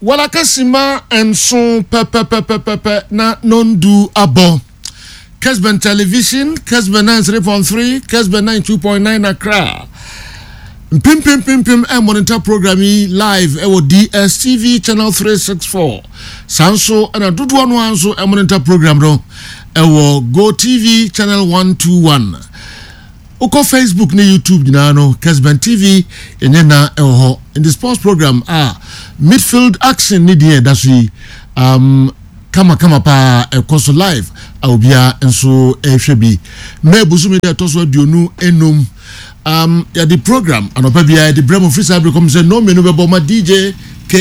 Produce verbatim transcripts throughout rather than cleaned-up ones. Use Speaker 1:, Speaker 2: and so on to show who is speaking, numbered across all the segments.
Speaker 1: Walakasima nson pɛpɛpɛpɛpɛ na nondu abɔ. Kesben Television, Kesben ninety-three point three, Kesben ninety-two point nine Accra. Mpimpimpim ɛ monitor program yi live ɛwɔ D S T V channel three sixty-four. Saa nso ɛna dodoɔ no ara nso ɛ monitor program no ɛwɔ Go T V channel one twenty-one. Wokɔ Facebook ne YouTube nyinaa no, Kesben T V ɛnyɛ na ɛwɔ hɔ. In the sports program a Midfield Action ne deɛ ɛda so yi um, kamakama paa ɛkɔ so live a obiara nso ɛrehwɛ bi. Mmaa ebusumi deɛ ɛtɔ so aduonu enum um, yɛde program anɔpa biara yɛde brɛ mo firi saa abiri kɔm sɛ nnɔn mmienu bɛbɔ ma D J ka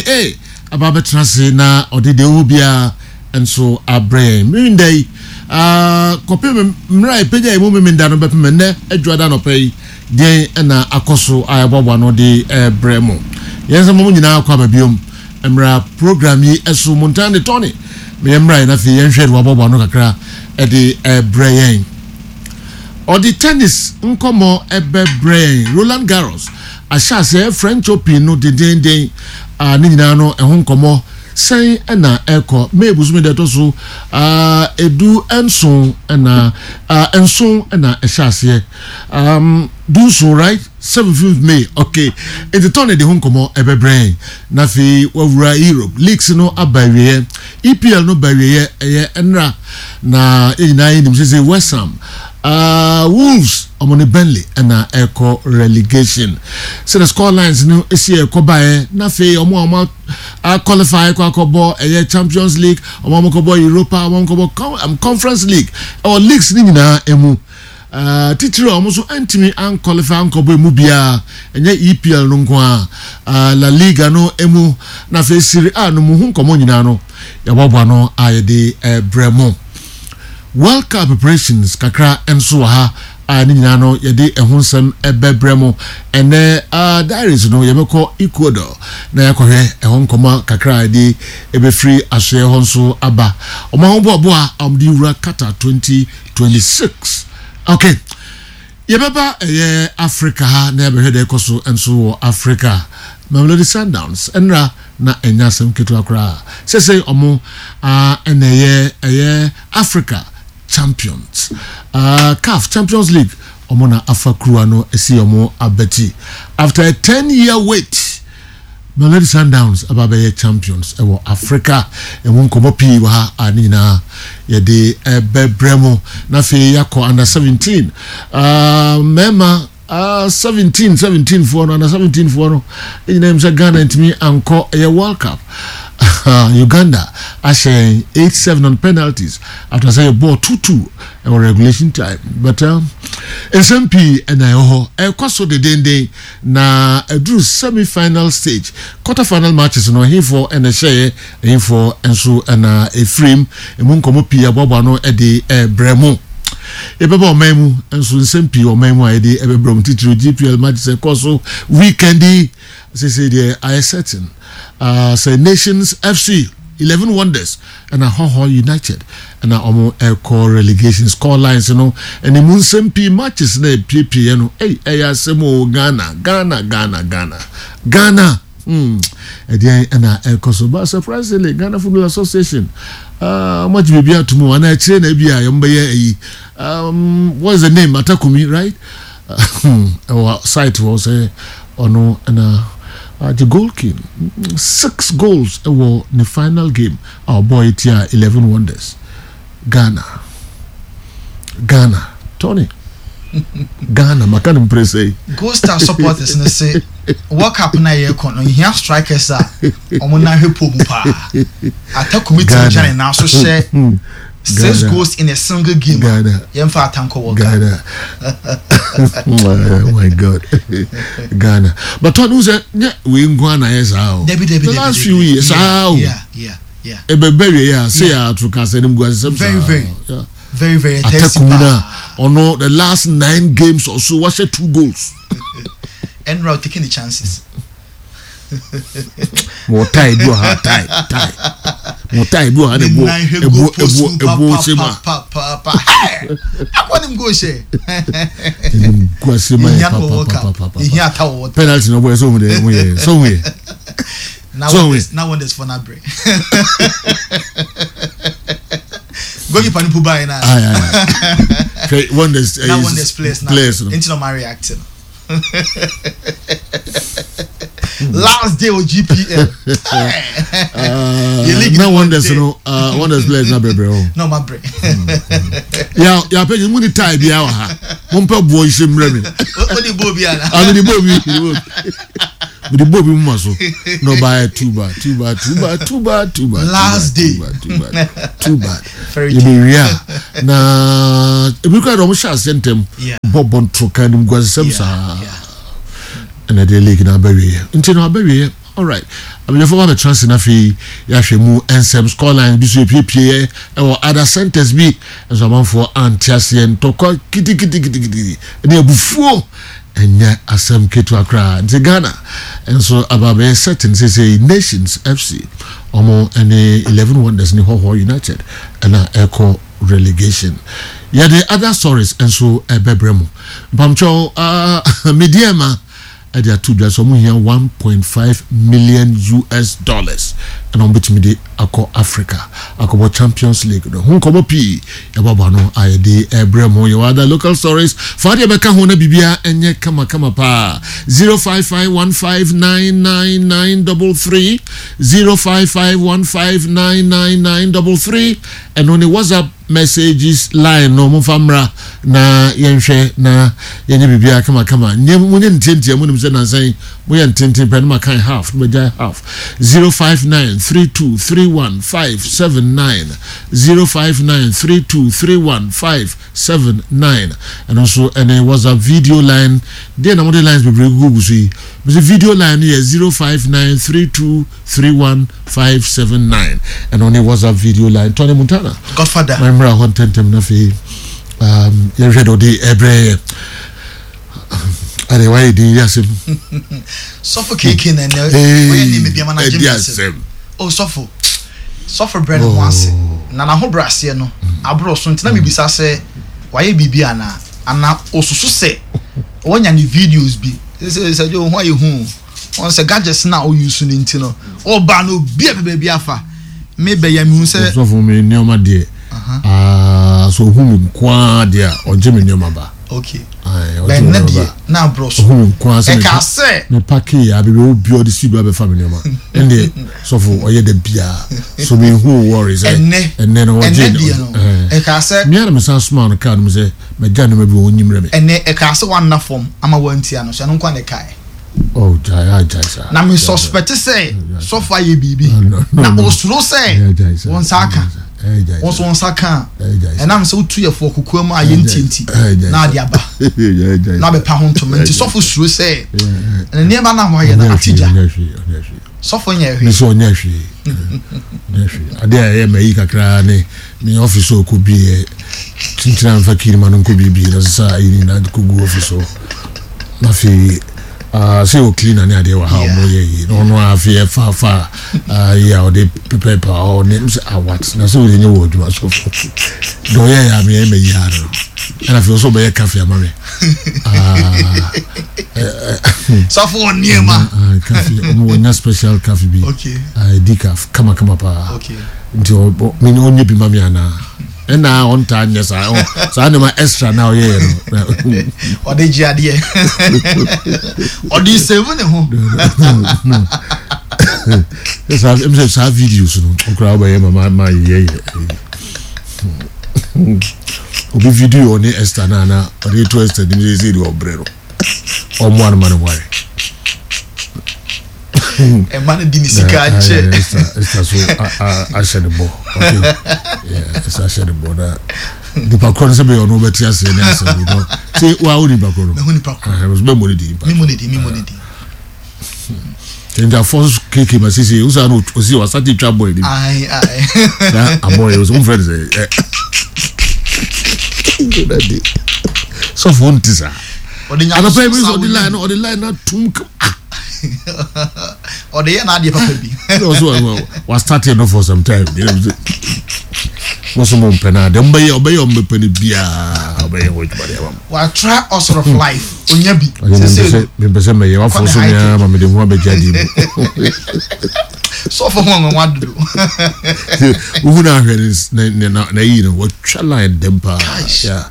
Speaker 1: aba abɛtena ase na ɔde deɛ ɛwɔ biara nso abrɛ yɛn. Mmiri yi uh, kɔpem mmerɛ a ɛpagya yi mu memenda no bɛpem nnɛ adwuada anɔpa yi, deɛn ɛna akɔ so a ɛboaboa no de ɛbrɛ mo? Yɛn nsɛm mo nyinaa kɔ aba biom mmra program yi ɛso mo ntan de tɔne meyɛ mmra yɛn. Afei yɛnhwɛ de waboaboa no kakra ɛde ɛbrɛ yɛn. Ɔde tennis nkɔmɔ ɛbɛbrɛ yɛn. Roland Garros ahyɛ aseɛ, French Open no dendenden a ne nyinaa no ɛho nkɔmɔ sɛn ɛna ɛkɔ. May busumi deɛ ɛtɔ so edu nson ɛna nson ɛna ɛhyɛ aseɛ, um, dunson, right, seventeenth May. Okay, nti tɔn de ho nkɔmɔ ɛbɛbrɛ yɛn. Na afei wawura Europe leagues no aba awieɛ, E P L no ba awieɛ ɛyɛ ɛnra na yɛn nyinaa yɛ nim sɛ sɛ West Ham, uh, Wolves, ɔmo ne Burnley ɛna ɛkɔ relegation, sɛ the score lines no esi ɛkɔ baeɛ. Na afei ɔmo a ɔmo a qualify kɔ akɔbɔ ɛyɛ Champions League, ɔmo a ɔmo kɔbɔ Europa, ɔmo a ɔmo kɔbɔ um, Conference League ɛwɔ leagues ne nyinaa emu. Uh, titiri a ɔmo nso ntumi an qualify ankɔbɔ emu biara ɛnyɛ E P L no nko a, uh, La Liga no emu na afei Serie A no mu ho nkɔmɔ nyinaa no yɛbɔbɔ no a yɛde ɛbrɛ mo. World Cup preparations kakra nso wɔ ha a ne nyinaa no yɛde ɛho nsɛm ɛbɛbrɛ mo ɛnɛ. uh, diaries no, yɛbɛkɔ Ecuador na yɛakɔhwɛ ɛho nkɔmɔ kakra a yɛde ɛbɛfiri asoɛ hɔ nso aba. Ɔmo ahoboaboa a ɔmo de wura Qatar twenty twenty-six. Okay, yɛbɛba ɛyɛ Africa ha na yɛbɛhwɛ deɛ ɛkɔ so nso wɔ Africa. Mamelodi Sundowns ɛnra na ɛnya asɛm ketewa koraa sɛsɛ ɔmo ɛna ɛyɛ ɛyɛ Africa champions, uh, CAF Champions League. Ɔmo na afa kuruwa no esi ɔmo abɛti after a ten year wait. Mamelodi Sundowns aba bɛyɛ champions ɛwɔ Africa. Ɛmu nkɔmɔ pii wɔ ha a ne nyinaa yɛde ɛbɛbrɛ mu. Na afei yɛakɔ under seventeen, mmarima uh, seventeen seventeen foɔ no, under seventeen foɔ no nyinaa mu sɛ Ghana ntumi ankɔ ɛyɛ World Cup. Uganda ahyɛ eight seven on penalties after sɛ yɛ bɔɔl two two ɛwɔ regulation time. But um, nsɛm pii ɛna ɛwɔ hɔ ɛkɔ so dedenden na ɛduru semi final stage, quarter final matches no, ɛhefoɔ ɛna ɛhyɛeɛ, ɛhefoɔ nso ɛna ɛfirim, emu nkɔmɔ pii aboaboa no ɛde ɛbrɛ mu. Yɛbɛba ɔman mu nso, nsɛm pii ɔman mu a yɛde ɛbɛbrɛ mu, titiri G P L matches ɛkɔ so weekend yi. Sese deɛ ayɛ certain uh, sɛ Nations F C, Eleven Wonders ɛna Hohoe United ɛna ɔmo ɛkɔ relegation. Score lines no ɛne mu nsɛm pii, matches na epiepie no, ɛy ɛyɛ asɛm o. Ghana, Ghana, Ghana, Ghana, Ghana, hmm ɛdeɛn ɛna ɛkɔ so? But surprisingly, Ghana Football Association ɔmo agye biribi ato mu ana akyire na ebi a yɛn bɛyɛ ɛyi, um, what's the name, Atakumi, right? Ɛwɔ site hɔ sɛ ɔno ɛna uh, the goal king, six goals ɛwɔ ne final game a ɔbɔ etia Eleven Wonders. Ghana, Ghana, Tony, Ghana maka ne mpere sɛ
Speaker 2: Gold Star supporters no sɛ World Cup na yɛ kɔ no, nhia strikers a ɔmo nan hwɛ pole mu paa. Atakumi ti gyina ne nan so hyɛ six goals in a single game.
Speaker 1: Ghana.
Speaker 2: Yɛmfa atankɔ World Cup.
Speaker 1: Ghana, oh my God, Ghana. But tɔn sɛ nyɛ wei nko ana yɛ saa o.
Speaker 2: Debi, debi.
Speaker 1: The last few years saa o.
Speaker 2: yeah yeah yeah
Speaker 1: Ɛbɛbɛ wie yɛ a se yɛ ato kasa anim gu asesɛm saa.
Speaker 2: Very, very.
Speaker 1: Yeah.
Speaker 2: Very, very thirsty
Speaker 1: Atakumi na
Speaker 2: paa.
Speaker 1: ɔno the last nine games or so wahyɛ two goals.
Speaker 2: Ɛnura taking the chances.
Speaker 1: Wɔ tie bi wɔ ha, tie tie wɔ tie bi wɔ ha na ebu ebu ebu ebu ose ma.
Speaker 2: Papaapa akɔ nim goal hyɛ.
Speaker 1: Enim gu ase ma yɛ
Speaker 2: Ehia no wɔ World Cup.
Speaker 1: papapapapa.
Speaker 2: Ehia ata wɔ World Cup.
Speaker 1: Penalty na ɔbɔ yɛ sɛ ohun de ohun yɛ sɛ ohun yɛ.
Speaker 2: Na
Speaker 1: So
Speaker 2: wonders na wonders for na brɛ goalkeeper no po baeɛ na
Speaker 1: ayi ayi hwɛ Wonders
Speaker 2: na Wonders players na
Speaker 1: players no
Speaker 2: nti na ɔma react no last day o G P L.
Speaker 1: Uh,
Speaker 2: Yɛ league
Speaker 1: na
Speaker 2: no
Speaker 1: Wonders
Speaker 2: day.
Speaker 1: no, uh, Wonders players na brɛbrɛ o.
Speaker 2: Na ɔma brɛ.
Speaker 1: Ya ya pɛ mu ni tie bi wɔ ha, mo mpɛ boɔ nhyɛ mmerɛ mi.
Speaker 2: O de bɔ obi ana?
Speaker 1: Ah, mi di bɔ bi, mi di bɔ bi, mi di bɔ bi mu ma so na ɔba yɛ too bad, too bad, too bad, too bad, too bad.
Speaker 2: Last
Speaker 1: too
Speaker 2: day.
Speaker 1: bad, too bad, too bad.
Speaker 2: Very
Speaker 1: Yɛ bɛ wia na ebi kura de ɔmo hyɛ aseɛ ntɛm
Speaker 2: Yeah.
Speaker 1: bɔ bɔ ntoroka nim guasɛm saa.
Speaker 2: Yeah.
Speaker 1: Ɛna de league na abɛwie nti na abɛwie. Alright, abɛnyɛfo ba bɛtena ase na afei yɛahwɛ mu nsɛm. Scoreline bi so epiepie ɛwɔ other centers bi nso, amanfoɔ ante aseɛ, ntɔkwa kitikitikitikiti ɛne abufuo, ɛnyɛ asɛm ketewa koraa. Nti Ghana nso aba abɛyɛ certain sɛ Nations F C ɔmo ɛne Eleven Wonders ne Hɔhɔ United ɛna ɛkɔ relegation. Yɛde other stories nso ɛbɛbrɛ mu. Mpamkyɛw, uh, Medeama ɛde ato dwa sɛ ɔmo hia one point five million U S dollars ɛna ɔmo bɛtumi de akɔ Africa akɔbɔ Champions League no ho. Nkɔmɔ pii yɛbɔbɔ ano a yɛde ɛbrɛ mu. Yɛwɔ other local stories fa deɛ bɛka ho na biribia ɛnyɛ kamakama paa. Zero five five one five nine nine nine double three, zero five five one five nine nine nine double three, ɛno ne WhatsApp messages line no. Momfa mmra na yɛnhwɛ na yɛnyɛ biribiara kamakama. Nyɛ monyɛ ntiantia mu nim sɛ nansan moyɛ ntenten pɛ no makan half na magyae half. zero five nine three two three one five seven nine, zero five nine three two three one five seven nine, ɛno nso ɛne WhatsApp video line deɛ na mode lines bebree gugu gu so yi. Mese video line no yɛ zero five nine three two three one five seven nine, ɛno ne WhatsApp video line. Tony Montana.
Speaker 2: Godfather.
Speaker 1: Mmra hɔ ntɛntɛm na afei um, yɛhwɛ de ɔde ɛbrɛ yɛ ɛde wayɛ din yɛ asɛm.
Speaker 2: Sɔfo keke na ɛnɛ ɔyɛ nneɛma bi ama na gye
Speaker 1: Ɛdi
Speaker 2: mi asɛm.
Speaker 1: Asɛm.
Speaker 2: O sɔfo sɔfo brɛ ne ho ase na n'ahobrɛ aseɛ no aborɔ so, nti na mibisa sɛ wayɛ biribi anaa ana osusu sɛ wɔnya ne videos bi sɛ sɛ de ohun ayɛ hu wɔn sɛ gadgets na oyi so ne nti no ɔba no obi a baabi afa me bɛyɛ mi hu sɛ
Speaker 1: Sɔfo, mi nneɛma deɛ aa, so ohun mi nkoa deɛ a, ɔgye mi nneɛma ba.
Speaker 2: Okay.
Speaker 1: Ayi, ɔgye
Speaker 2: bɛn
Speaker 1: mi
Speaker 2: ne
Speaker 1: nneɛma
Speaker 2: deɛ
Speaker 1: ba.
Speaker 2: Na aborɔ so
Speaker 1: Ohun mi nkoa sɛ
Speaker 2: ɛka sɛ
Speaker 1: me pack yɛ abebe obi ɔde si bi abɛfa mi nneɛma, ɛndeɛ sɔfo ɔyɛ dɛ bia so mi hu wɔri sɛ
Speaker 2: ɛnɛ
Speaker 1: ɛnɛ no ɔgye
Speaker 2: ɛnɛ deɛ no
Speaker 1: ɛɛ
Speaker 2: ɛka sɛ
Speaker 1: mmea na mi san soma no kaa no mu sɛ mɛgya nneɛma bi wɔ onyim rɛ mi.
Speaker 2: Ɛnɛ ɛka sɛ wanna fam ama wantia no so, ɛno nkwa ne kae.
Speaker 1: Ɔ gyae a gyae saa.
Speaker 2: Na me suspect sɛ sɔfo ayɛ biribi
Speaker 1: No, no,
Speaker 2: na
Speaker 1: no.
Speaker 2: osuro sɛ
Speaker 1: Ɛyɛ gyae saa.
Speaker 2: wɔn nsa aka
Speaker 1: Ɛyɛ gyae
Speaker 2: wɔn nso wɔn nsa ka a
Speaker 1: Ɛyɛ gyae saa.
Speaker 2: ɛnam sɛ wotu yɛ fo kokoa mu a yɛ ntianti
Speaker 1: Ɛyɛ gyae
Speaker 2: na
Speaker 1: saa.
Speaker 2: ade aba
Speaker 1: Ɛyɛ gyae
Speaker 2: na
Speaker 1: saa.
Speaker 2: abɛpa ho ntoma, nti sɔfo suro sɛ ɛna nneɛma no a wɔayɛ no
Speaker 1: Ɔnyɛ
Speaker 2: ate
Speaker 1: hwee,
Speaker 2: gya.
Speaker 1: Ɔnyɛ hwee, ɔnyɛ hwee.
Speaker 2: Sɔfo nyɛ
Speaker 1: Ne
Speaker 2: hwee.
Speaker 1: sɛ ɔnyɛ hwee, ɔnyɛ hwee. Adeɛ a ɛyɛ ma yi kakra ne ne office a ɔkɔ bie kyenkyena mfa kii no ma no nkɔ biebie na sesa ayi nyinaa de kɔgu office hɔ na afei ah, sɛ wɔ cleaner ne adeɛ wɔ ha.
Speaker 2: Yeah.
Speaker 1: Ɔmo yɛ yi na ɔno a afei ɛfa fa ah, yi a ɔde pɛpɛɛpɛ a ɔne m sɛ awat na sɛ ɔde nyɛ wɔ adwuma so deɛ ɔyɛ yɛ a meyɛ ma yi ara no, ɛna afei ɔsɛ ɔbɛyɛ cafe ama me. Ah,
Speaker 2: Sɔfo wɔ nneɛma.
Speaker 1: Ah, cafe ɔmo wɔnya special cafe bi.
Speaker 2: Okay.
Speaker 1: Ah, decaf kamakama paa.
Speaker 2: Okay.
Speaker 1: Nti ɔ- me ɔnyɛ bi ma me anaa ɛna ɔntaa nyɛ saa. Ɔ- saa nneɛma extra na ɔyɛyɛ no.
Speaker 2: Ɔde gye adeɛ, ɔde save ne ho.
Speaker 1: Saa ɛm sɛ saa videos no ɔkora wobɛyɛ ma ma ma yɛyɛ obi video ɔne Esther na ana ɔde to Esther nim sɛ sɛ deɛ ɔbrɛ no ɔmmoa no ma no ware.
Speaker 2: Ɛma no di ne sika akyɛ.
Speaker 1: Esther Esther so a- a- ahyɛ ne bɔ. Okay, yeah, Esther ahyɛ ne bɔ na nipa korɔ no sɛ bɛyɛ ɔno wobɛte aseɛ ne asɛm no sɛ waa wo nipa korɔ no.
Speaker 2: Mehu nipa korɔ.
Speaker 1: Bɛmmɔ ne din.
Speaker 2: Mi mu ne di, mi mu ne di.
Speaker 1: Nti afɔ keke ma sisi wosa no osi wasate twa bɔ anim.
Speaker 2: Ayi ayi.
Speaker 1: Na abɔ yɛ wosɛ womfrɛ no sɛ ɛ ɛ sɔfo nte saa.
Speaker 2: Ɔde
Speaker 1: anɔpa yi bi
Speaker 2: nyamesom
Speaker 1: sɛ
Speaker 2: sa
Speaker 1: ɔde
Speaker 2: wo
Speaker 1: line no, ɔde line no atum kam.
Speaker 2: Ɔde yɛ n'adeɛ papa bi.
Speaker 1: Ɔsɛ wa start no for some time. You know, Mo so mo mpɛ no a, deɛ mobɛyɛ, ɔbɛyɛ, ɔmbɛpɛ no biaa, ɔbɛyɛ wɔ adwuma deɛ ama mo.
Speaker 2: Watra all sort of life, onya bi.
Speaker 1: Ɔyɛ mempɛ sɛ mempɛ sɛ mɛyɛ wafɔ so mea ma mede ho abɛgye adeɛ mu.
Speaker 2: Sɔfo ho nwanwa dodo.
Speaker 1: Wohu no ahwɛ ne- ne- ne- na ayi no wɔtwa line dɛm paa.
Speaker 2: Gosh.
Speaker 1: Yeah.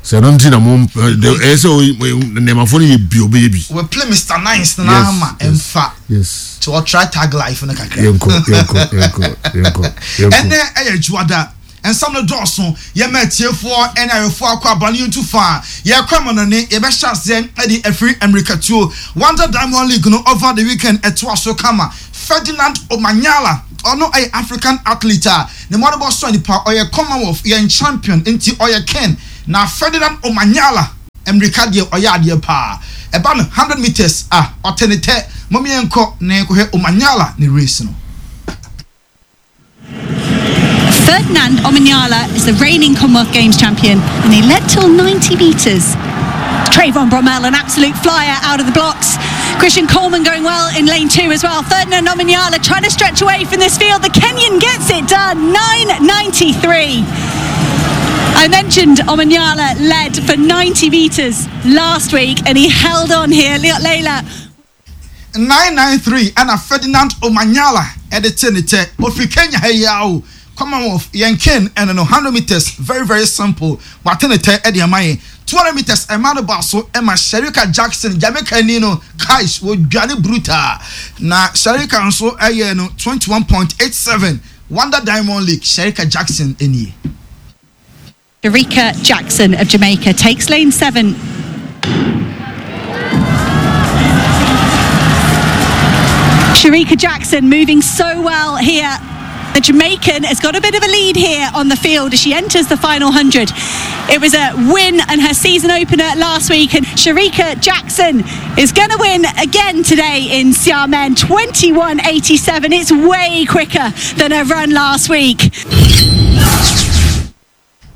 Speaker 1: Sɛ ɛno nti na mo ɛyɛ sɛ oyi- nnɛmafoɔ no yɛ bi, ɔbɛyɛ bi.
Speaker 2: We play Mister Nice na
Speaker 1: Yes,
Speaker 2: ama
Speaker 1: yes.
Speaker 2: ɛmfa.
Speaker 1: Yes.
Speaker 2: Nti ɔtry tag life no kakra.
Speaker 1: Yɛnkɔ, yɛnkɔ, yɛnkɔ, yɛnkɔ, yɛnkɔ.
Speaker 2: Ɛnɛ ɛyɛ dwoada, nsɛm no dɔɔso. Yɛma atiefoɔ ɛne ayɛfoɔ akɔ aba no, yɛntu fa a yɛkɔ amanɔne. Yɛbɛhyɛ aseɛ ɛde afiri mmirikatuo. Wanda Diamond League no, over the weekend ɛtoa so kama. Ferdinand Omanyala, ɔno ɛyɛ African athlete a ne mmɔdebɔ sɔ nipa. Ɔyɛ Commonwealth yɛn champion, nti ɔyɛ ken na Ferdinand Omanyala mmirika deɛ, ɔyɛ adeɛ paa. Ɛba no hundred meters a, ɔte ne tɛ. Mɔmyɛnkɔ na yɛnkɔhwɛ Omanyala ne race no.
Speaker 3: Ferdinand Omanyala is the reigning Commonwealth Games champion, and he led till ninety metres. Trayvon Bromell, an absolute flyer out of the blocks. Christian Coleman going well in lane two as well. Ferdinand Omanyala trying to stretch away from this field. The Kenyan gets it done, nine ninety-three. I mentioned Omanyala led for ninety metres last week and he held on here. Liot Layla
Speaker 2: nine nine three ɛna Ferdinand Omanyala ɛde te ne tɛ. Ofiri Kenya ha yi awo, Commonwealth yɛn ken ɛno no. Hundred meters, very very simple, wate ne tɛ ɛde ama yɛn. Two hundred meters, ɛma no ba so ɛma Sherika Jackson, Jamaica ni no. Kais wɔdwane brutal na Sherika nso ɛyɛ no twenty one point eight seven. Wanda Diamond League, Sherika Jackson ɛnie.
Speaker 3: Sherika Jackson of Jamaica takes lane seven. Sherika Jackson moving so well here. The Jamaican has got a bit of a lead here on the field as she enters the final one hundred. It was a win and her season opener last week, and Sherika Jackson is going to win again today in Xiamen. twenty-one eighty-seven. It's way quicker than her run last week.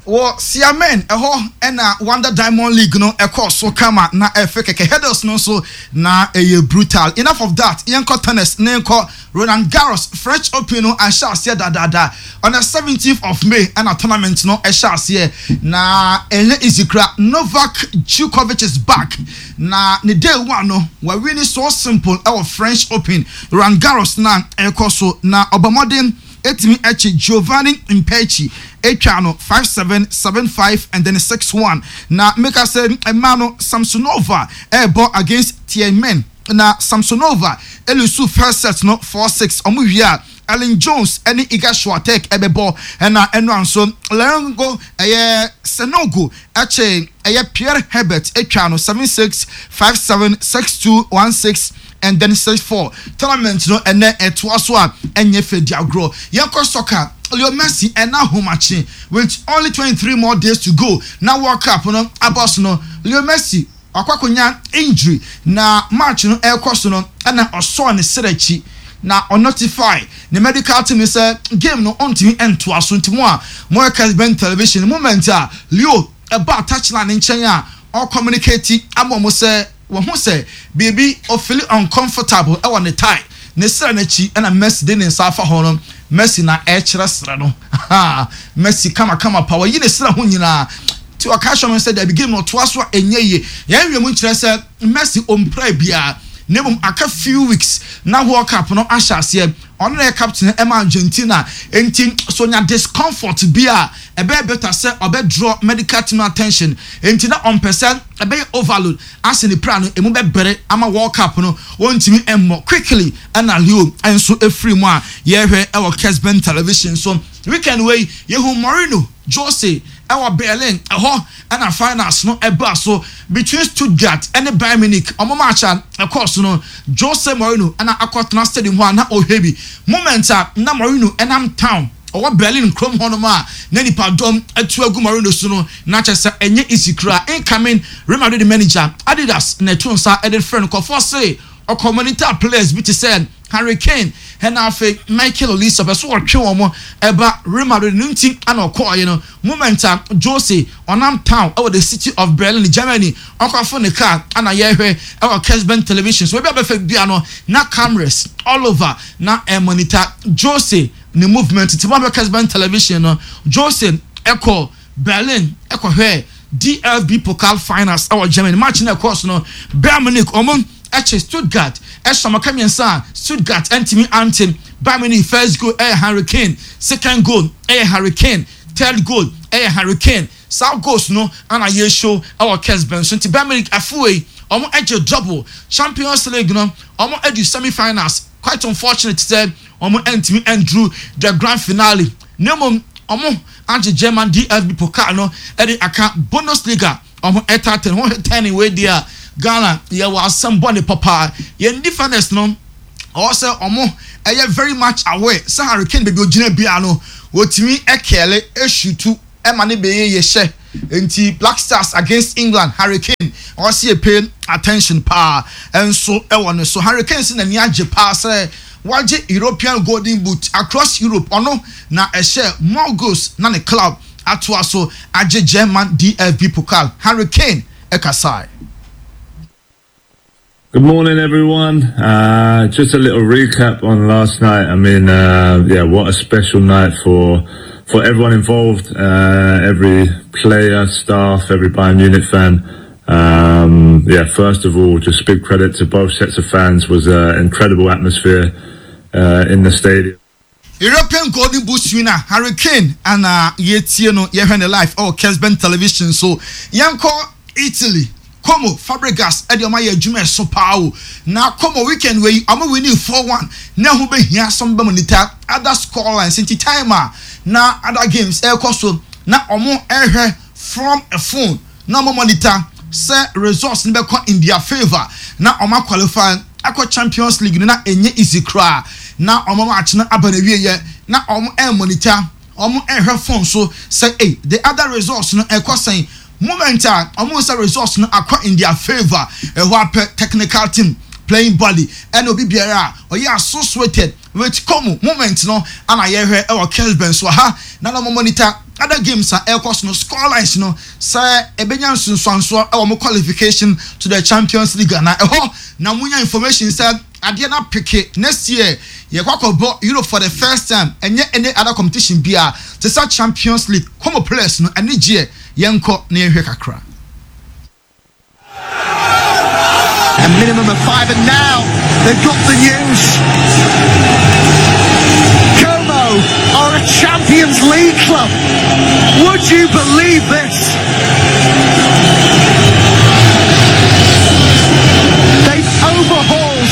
Speaker 2: Wɔ Xiamen ɛhɔ ɛna Wanda Diamond League no ɛkɔɔ so kama na ɛfɛ kɛkɛ. Hurdles no nso na ɛyɛ brutal. Enough of that, yɛnkɔ tennis na yɛnkɔ Roland Garros. French Open no ahyɛ aseɛ dadaada on the seventeenth of May ɛna tournament no ɛhyɛ aseɛ na ɛnyɛ easy kura. Novak Djokovic is back na ne day one no wɔawi so simple ɛwɔ French Open, Roland Garros na ɛkɔ so na ɔbɔmmɔden etimi akyi Giovanni Mpetshi atwa no five seven, seven five and then six one. Na meka sɛ mmaa no, Samsonova ɛrebɔ against Tiemann na Samsonova e lose first set no four six. Ɔmo wie a, Ellen Jones ɛne Iga Swiatek ɛbɛbɔ. Ɛna ɛno nso Leongo ɛyɛ Sanogo ɛkyɛ ɛyɛ Pierre Herbert atwa no seven six, five seven, six two, one six and then six four. Tournament no ɛnɛ ɛtoa so a ɛnyɛ fɛ di agorɔ. Yɛnkɔ soccer. Leo Messi ɛna ahomakye with only twenty-three more days to go na World Cup no abɔ so no, Leo Messi wakɔ akɔnya injury na match no ɛrekɔ so no ɛna ɔsɔɔ ne serɛ akyi na ɔnotify ne medical team sɛ game no ɔntumi ntoa so. Nti mo a mo yɛ Kesben Television, moment a Leo ɛba touchline ne nkyɛn a ɔcommunicate ama ɔmo sɛ wɔn ho sɛ biribi, ɔfeel uncomfortable ɛwɔ ne thigh, ne serɛ n'akyi, ɛna Messi de ne nsa afa hɔ no. Messi na ɛkyerɛ serɛ no. Messi kamakama pa wɔyi ne serɛ ho nyinaa tí ɔka hyɛ mo sɛ dabi, game no ɔtoa so a ɛnyɛ yie. Yɛn wiem nkyerɛ sɛ Messi ɔmpira biara na mmom aka few weeks na World Cup no ahyɛ aseɛ. Ɔno na yɛ captain ɛma Argentina, nti so nya discomfort bi a, ɛbɛyɛ better sɛ ɔbɛ draw medical team attention. Nti na ɔmpɛ sɛ ɛbɛyɛ overload asɛ ne pra no emu bɛbɛrɛ ama World Cup no wɔntumi mmɔ quickly. Ɛna Leo nso efiri mu a yɛrehwɛ ɛwɔ Kesben Television so. Weekend wei yehu Mourinho Jose ɛwɔ Berlin ɛhɔ ɛna finals no ɛbaa so between Stuttgart ɛne Bayern Munich. Ɔmo match a ɛkɔɔ so no, Jose Mourinho ɛna akɔtena stadium hɔ a na ɔhwɛ bi. Moment a na Mourinho ɛnam town ɔwɔ Berlin kurom hɔnom a na nipadɔm atu agu Mourinho so no, na kyerɛ sɛ ɛnyɛ easy kura. Incoming Real Madrid manager, Adidas na ɛto nsa ɛde frɛ no kɔfɔ se ɔkɔmɔnita players bi te sɛ Harry Kane ɛna afei Michael Olise ɔpɛ so wɔtwe wɔn ɛba Real Madrid no, nti ɛna ɔkɔɔyɛ no. Moment a Jose ɔnam town ɛwɔ the city of Berlin, Germany, ɔkɔfo ne car ɛna yɛhwɛ ɛwɔ Kesben Television so. Ebi abɛfɛ bia no na cameras all over na ɛmonitor Jose. Ne movement ti mo abɛ Kesben Television no, Jose ɛkɔ Berlin ɛkɔhwɛ D F B Pokal finals ɛwɔ Germany. Match no ɛkɔɔ so no, Bayern Munich ɔmo ɛkyɛ Stuttgart, ɛhyɛ ɔmo ka mmiɛnsa a Stuttgart ɛntumi ante. Bayern Munich first goal ɛyɛ Harry Kane, second goal ɛyɛ Harry Kane, third goal ɛyɛ Harry Kane. Saa goals no ana yɛ show ɛwɔ Kesben so. Nti Bayern Munich afuwei ɔmo ɛgye double Champions League no. Ɔmo ɛdu semi finals. Quite unfortunate sɛ ɔmo ɛntumi ɛnduru the grand finale, na mmom ɔmo agye German D F B Pokal no ɛde aka Bundesliga. Ɔmo ɛta ten ho ten wei deɛ a Ghana yɛwɔ asɛm bɔ ne papa. Yɛn defenders no, ɔwɔ sɛ ɔmo ɛyɛ very much aware sɛ Harry Kane, baabi ogyina bia no, wɔtumi ɛkɛɛle ɛshoot ɛma ne bɛyɛ yɛ hyɛ. Nti Black Stars against England, Harry Kane, ɔwɔ sɛ yɛ pay attention paa ɛnso ɛwɔ ne so. Harry Kane si n'ani agye paa sɛ wagye European Golden Boot across Europe. Ɔno na ɛhyɛ more goals na ne club atoa so agye German D F B Pokal. Harry Kane ɛkasae.
Speaker 4: Good morning, everyone. Uh, just a little recap on last night. I mean, uh, yeah, what a special night for for everyone involved, uh, every player, staff, every Bayern Munich fan. Um, yeah, first of all, just big credit to both sets of fans. Was an incredible atmosphere uh, in the stadium.
Speaker 2: European Golden Boot winner Harry Kane ana yɛtie no, yɛhwɛ ne live ɛwɔ Kesben Television so. Yɛnkɔ Italy. Como, Fabregas ɛde ɔmo ayɛ adwuma ɛso paa o. Na Como weekend wei ɔmo win four one, na ɛho bɛhia sɔm bɛ monitor other score lines. Nti time a na other games ɛrekɔ so na ɔmo ɛrehwɛ from a phone na ɔmo monitor sɛ results no bɛkɔ in their favour na ɔmo qualify akɔ Champions League no. Na ɛnyɛ easy koraa na ɔmo match no aba na wie yɛ na ɔmo ɛɛ monitor, ɔmo ɛrehwɛ phone so sɛ, ɛy, the other results no ɛkɔ sɛn. Moment a ɔmo sɛ results no akɔ in their favour, ɛhɔ apɛ technical team, playing body, ɛna obi biara a ɔyɛ associated with Como moment no ana yɛhwɛ ɛwɔ Kesben so ha na na ɔmo monitor other games a ɛrekɔ so no, score lines no, sɛ ebenya nsonsansoɔ ɛwɔ mo qualification to the Champions League. Ana ɛhɔ na mo nya information sɛ adeɛ na peke next year yɛkɔ akɔbɔ Europe for the first time, ɛnyɛ any other competition bia te sɛ Champions League. Como players no ɛne gyeɛ. Yɛnkɔ na yɛnhwɛ kakra.
Speaker 5: A minimum of five, and now they've got the news. Como are a Champions League club. Would you believe this? They've overhauled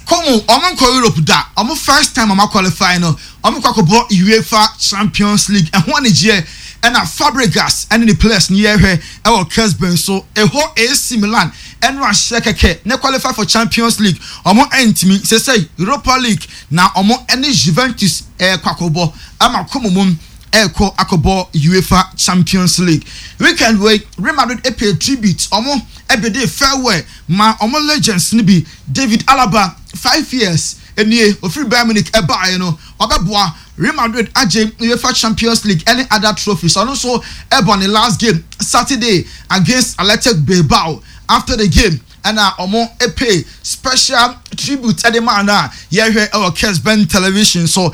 Speaker 2: Como, ɔmo nkɔ Europe da. Ɔmo first time ɔmo qualify no, ɔmo kɔ akɔbɔ UEFA Champions League. Ɛho anigyeɛ ɛna Fabregas ɛne ne players ni yɛhwɛ ɛwɔ Kesben so. Ɛhɔ A C Milan ɛno ahyɛ kɛkɛ ne qualify for Champions League, ɔmo ɛntumi sɛsɛ Europa League na ɔmo ɛne Juventus ɛɛkɔ akɔbɔ ama Como mu ɛɛkɔ akɔbɔ UEFA Champions League. Weekend wei, Real Madrid ɛpay tribute, ɔmo ɛbɛde farewell ma ɔmo legends ni bi. David Alaba, five years enie ofiri Bayern Munich ɛbaeɛ no, ɔbɛboa Real Madrid agye UEFA Champions League ɛne other trophies. Ɔno nso ɛbɔ ne last game Saturday against Athletic Bilbao. After the game ɛna ɔmo ɛpay special tribute ɛde maa no a yɛhwɛ ɛwɔ Kesben Television so.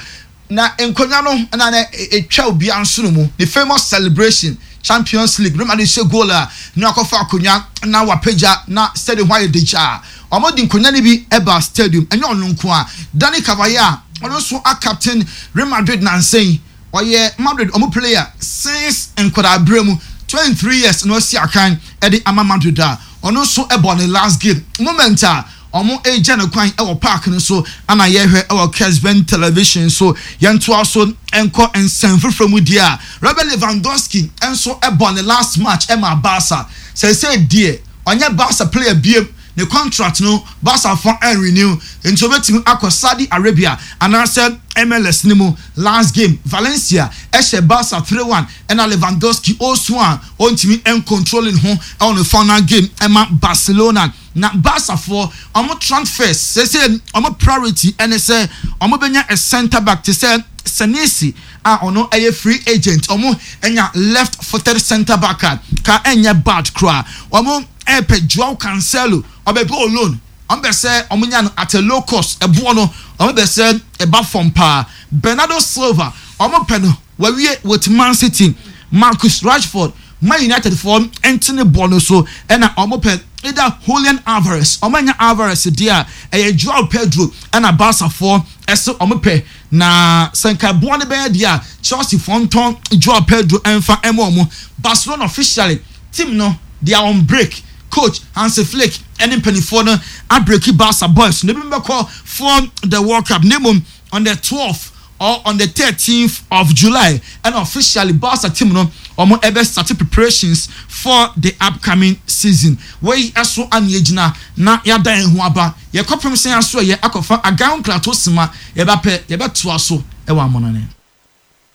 Speaker 2: Na nkonnwa no ɛna na etwa obiara nso no mu, the famous celebration, Champions League, Real Madrid hyɛ goal a na akɔfa akonnwa na wapagya na stadium hɔ ayɛ degya. Ɔmo de nkonnwa no bi ɛba stadium. Ɛnyɛ ɔno nko a, Dani Carvajal, ɔno nso a captain Real Madrid nansɛn, ɔyɛ Madrid ɔmo player since nkwadaa abere mu, twenty three years na ɔsi akan ɛde ama Madrid a ɔno nso ɛbɔ ne last game. Moment a ɔmo egya ne kwan ɛwɔ park no so ana yɛhwɛ ɛwɔ Kesben Television so. Yɛntoa so nkɔ nsɛm foforɔ mu deɛ a, Robert Lewandowski nso ɛbɔ ne last match ɛma Barca. Sɛsɛ deɛ ɔnyɛ Barca player biem, ne contract no Barca fɔ ɛnrenew, nti obetumi akɔ Saudi Arabia anaasɛ M L S ne mu. Last game, Valencia ɛhyɛ Barca three one, ɛna Lewandowski osu a ɔntumi ɛncontrolling ho ɛwɔ ne final game ɛma Barcelona. Na Barcafoɔ ɔmo transfers sɛsɛ ɔmo priority ɛne sɛ ɔmo bɛnya a centre back te sɛ Senesi a ɔno ɛyɛ free agent. Ɔmo ɛnya left footed centre back a ka ɛnyɛ bad koraa. Ɔmo ɛpɛ Joao Cancelo, ɔbɛbɛ on loan. Ɔmo bɛ sɛ ɔmo nya no at a low cost, ɛboɔ no ɔmo Ɔmo bɛ sɛ ɛba fam paa. Bernardo Silva, ɔmo pɛ no, wawie with Man City. Marcus Rashford, Man United foɔ ntene bɔ no so, ɛna ɔmo pɛ either Julian Alvarez. Ɔmo anya Alvarez deɛ a, ɛyɛ Joao Pedro ɛna Barca foɔ ɛsɛ ɔmo pɛ. Na sɛ nka boɔ no bɛyɛ deɛ a, Chelsea foɔ ntɔn Joao Pedro ɛnfa ɛma ɔmo. Barcelona officially, team no, they are on break. Coach Hansi Flick ɛne mpanimfoɔ no abreak Barca boys na ebi bɛkɔ for the World Cup. Ne mom on the twelfth or on the thirteenth of July and officially Barca team no, ɔmo ɛbɛ start preparations for the upcoming season. Wei ɛso ani egyina na yada yɛn ho aba. Yɛkɔpem sɛn aso yɛ akɔfa agan nkrato sima yɛbɛpɛ yɛbɛtoa so ɛwɔ amɔnane.